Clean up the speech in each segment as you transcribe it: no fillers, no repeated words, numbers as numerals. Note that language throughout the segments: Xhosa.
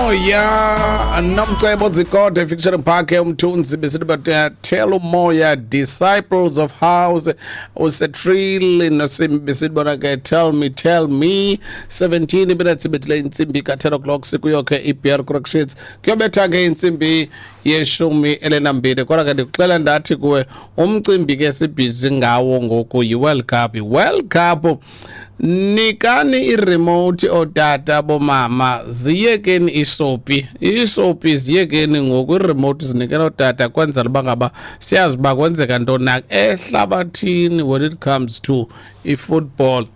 Umoya nomcebo zikode featuring Park Umthunzi besithi bathela umoya Disciples of House usetrill nosimbi besithi bona ke tell me, tell me. 17 minutes ibethile intsimbi ka-10 o'clock, sikuyo ke i-BR Corrections, kuyobetha ke intsimbi ye-12. Kodwa ke ndikuxela ndathi kuwe umcimbi ke sibhizi ngawo ngoku yi-World Cup. I-World Cup, nikani iremote ootata bomama, ziyekeni isopi, isopi ziyekeni ngoku, iremote zinikela ootata kwenzela uba ngaba siyazi uba kwenzeka ntoni na ehlabathini when it comes to i-football.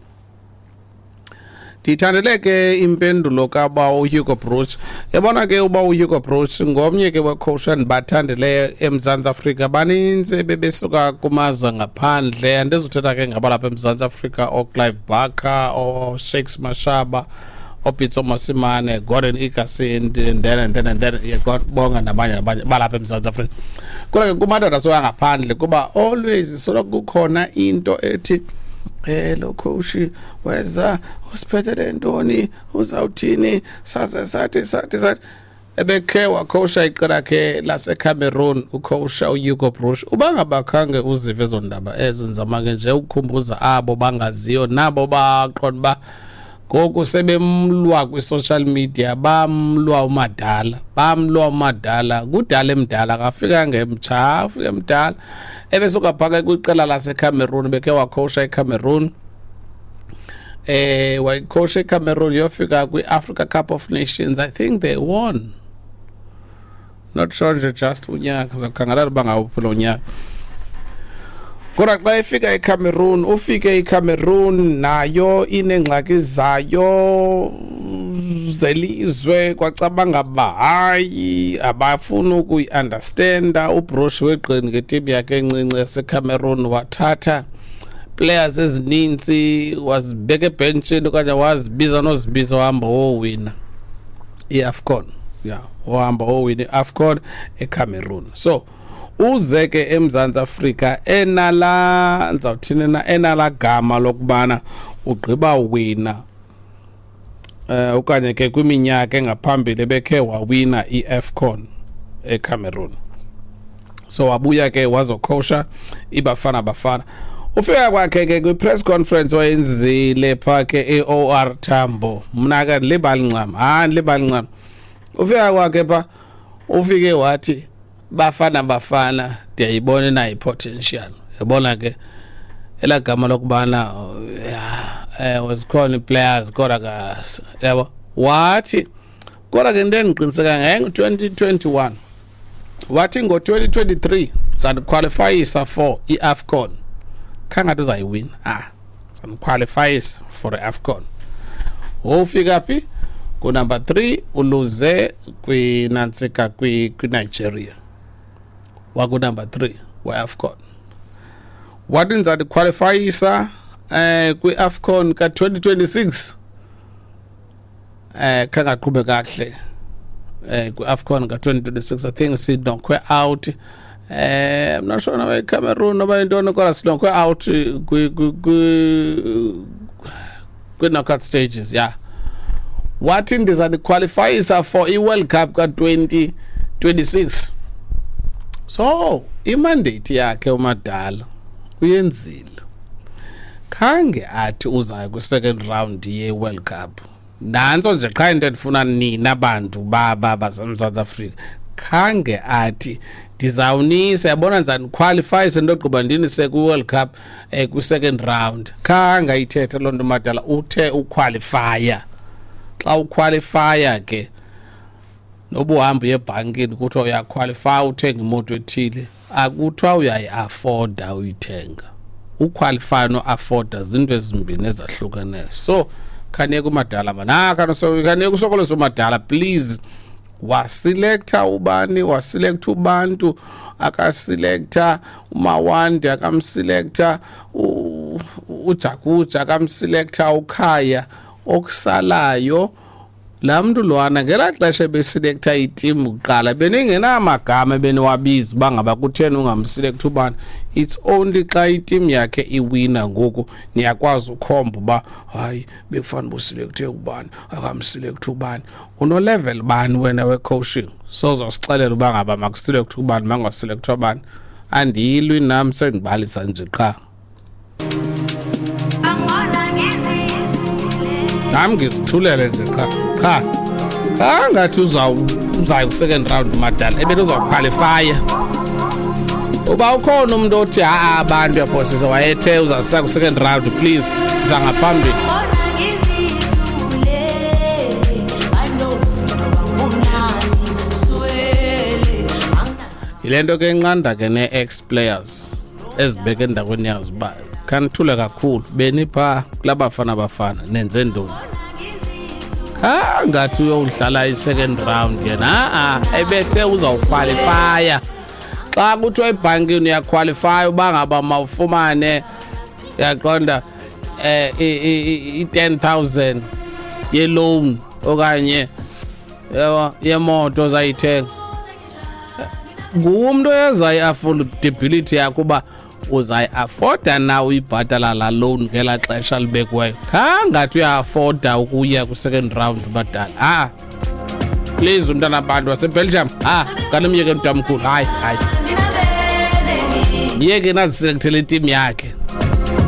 Ndiyithandele ke impendulo kaba uHugo Broos. Yabona ke uba uHugo Broos ngomnye ke wecoach endibathandileyo eMzantsi Afrika. Baninzi bebesuka kumazwe ngaphandle, andizuthetha ke ngabalapha eMzantsi Afrika, ooClive Barker, ooShakes Mashaba, ooPitso Mosimane, Gordon Igesund, and then and then and then bonga nabanye nabanye balapha eMzantsi Afrika. Kodwa ke kumadoda asuka ngaphandle, kuba always soloko kukhona into ethi lo coach weza usiphethele ntoni, uzawuthini, saze sathi sathi sathi ebekhe wakhosha iqela khe laseCameroon, ukhosha uHugo Broos. Uba ngabakhange uzive ezo ndaba ezo, ndizama ke nje ukukhumbuza abo bangaziyo nabo baqonda uba ngoku sebemlwa kwi-social media, bamlwa umadala, bamlwa umadala, kudala emdala, akafika ngemtsha, afike emdala. Ebesuka phaka kwiqela laseCameroon, bekhe wakhosha eCameroon, wayikhosha eCameroon yofika kwi-Africa Cup of Nations. I think they won, not sure nje, just unyaka zakukhangelela uba ngawuphi lo nyaka. Kodwa xa efika eCameroon, ufike iCameroon nayo ineengxaki zayo zelizwe, kwacabanga uba hayi, abafuni ukuyi-understanda. UBroos weqini ngetim yakhe encinci yaseCameroon, wathatha players ezininzi wazibeka ebhentshini okanye wazibiza nozibiza, wahamba wowina i-AFCON. Ya, wahamba wowina i-AFCON eCameroon. So uze ke eMzantsi Afrika enala, ndizawuthini na, enala gama lokubana ugqiba wina okanye ke kwiminyaka engaphambili bekhe wawina i-AFCON eCameroon. So wabuya ke wazokhosha iBafana Bafana. Ufika kwakhe ke kwi-press conference wayenzile phaa ke e-OR Tambo, mna ke ndilibali ncam, hayi, ndilibali ncam. Ufika kwakhe pha, ufike wathi Bafana Bafana ndiyayibona inayo i-potential. Yabona ke elaa gama lokubana ya zikhona ii-players, kodwa ka yabo wathi, kodwa ke into endiqiniseka ngayo, ngo-2021 wathi ngo-2023 sandiqualifyisa for i-AFCON. Khangathi uzayiwina, ah, sandiqualifyisa for i-AFCON. Wofika phi? Kunumber 3, uluze kwinantsika kwiNigeria, wakunumber 3 we-AFCON. Wathi ndizandiqualifyisa kwi-AFCON ka-2026. Khangaqhube kakuhle kwi-AFCON ka-2026. I think siknockwe out, I'm not sure noba iCameroon noba intoni, kodwa siknockwe out kwi-knockout stages. Yeah, wathi ndizandiqualifyisa for i-World Cup ka-2026. So imandate yakhe umadala uyenzile, khange athi uzayo kwi-second round ye-World Cup. Nantso nje qha into endifuna nina bantu baba baseMzantsi Afrika. Khange athi ndizawunisa, yabona, ndizaniqualifyisa ndogqiba ndinise kwi-World Cup kwi-second round. Khange ayithethe loo nto madala. Uthe uqualifya. Xa uqualifya ke, noba uhamba uye ebhankini kuthiwa uyaqualifya uthenga imoto ethile, akuthiwa uyayi-afforda uyithenga. Uqualifya no-afforda zinto ezimbini ezahlukeneyo. So khaniyeka umadala mana, khaniyeka usokolisa umadala, please. Waselecta ubani, waselecta ubantu, akaselecta uMawande, akamselecta uJakuja, akamselecta uKhaya. Okusalayo Laa mntu lwana ngelaa xesha ebesilektha itimu kuqala beningenamagama ebeniwabiza uba ngaba kutheni ungamsilektha ubani. It's only xa itimu yakhe iwina ngoku niyakwazi ukhomba uba hayi, bekufanele uba usilekthe ubani, akamsilektha ubani. Unolevel bani wena we-coaching? Sozosixelela uba ngaba makusilekthwe ubani, mangasilekthwa bani. Andiyilwi nam, sendibalisa nje qha. Nam ngizithulele nje qha qha. Angathi uzaya ku-second round madala, ebethi uzawukhwalifaya. Uba ukhona umntu othi ha-a abantu uyaphosisa, wayethe uzasisa ku-second round, please za ngaphambili. Yile nto ke enqanda ke nee-ex players ezibeke endaweni yazo uba khanithule kakhulu, beniphaa kulaa Bafana Bafana nenze ntoni? Khangathi uyowudlala i-second round yena, ha-a ebethe uzawukhwalifaya. Xa kuthiwa ebhankini uyakhwalifaya uba ngaba mawufumane, uyaqonda, i-10,000 yeloan okanye yabo yemoto ozayithenga, ngumntu oyeza i-affordability yakho uba uzayi-afforda na uyibhatala laa loan ngelaa xesha libekiweyo. Khangathi uya-afforda ukuya kwi-second round badala. Ha, please umntana abantu waseBelgium, ha, kanimyeke mntamkhulu. Hayi, hayi, myeke naziselekthele itimu yakhe.